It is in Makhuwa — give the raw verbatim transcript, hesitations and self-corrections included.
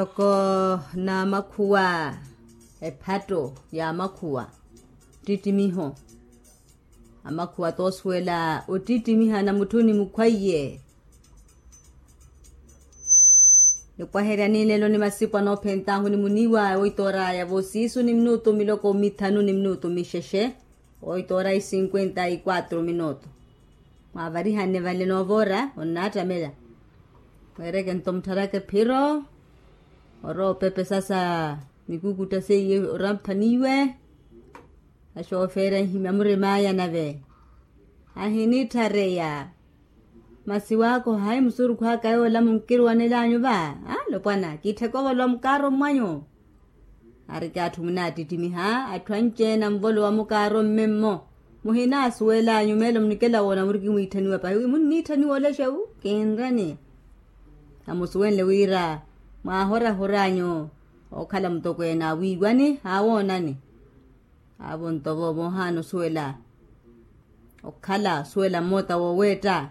Ntoko n'amakhuwa, ephatto y'amakhuwa, ttittimiho. Amakhuwa t'osuwela ottittimiha na mutthuni mukhwaiye. Nipwaherya ni lelo ni masipu anoophent'ahu ni muniiwa oitoor'aya voosiisu ni minutu miloko mithanu ni minutu mixexe. Oitoora isinkwenta ikwatru minutu. Mwaavarihanne vale noovoora onnaattamela. Mweereke nto muttharaka ephiro. Orowa opepesa sa mikukutta seiye oraphaniwe. Axoofeera nhimya murim'aya nave ahinitthareya. Masi waakoha hayi musurukhu aka yoola munkiruwanel'anyu va? Alopwana kittheka ovolowa mukaaro mmwanyu. Ariki atthu munaattittimiha atthu anci-ene anvolowa mukaaro mmemmo. Muhinaasuwel'anyu meelo munikela woona muriki mwiitthaniwa pahi wi munniitthaniwa olexe wu kinreni. Amusuwenle wira mwaahorahor'anyu okhala mutokweene a wiiwani aawoonani. Aavo nto vo moohaana osuwela okhala osuwela mmoota wooweetta.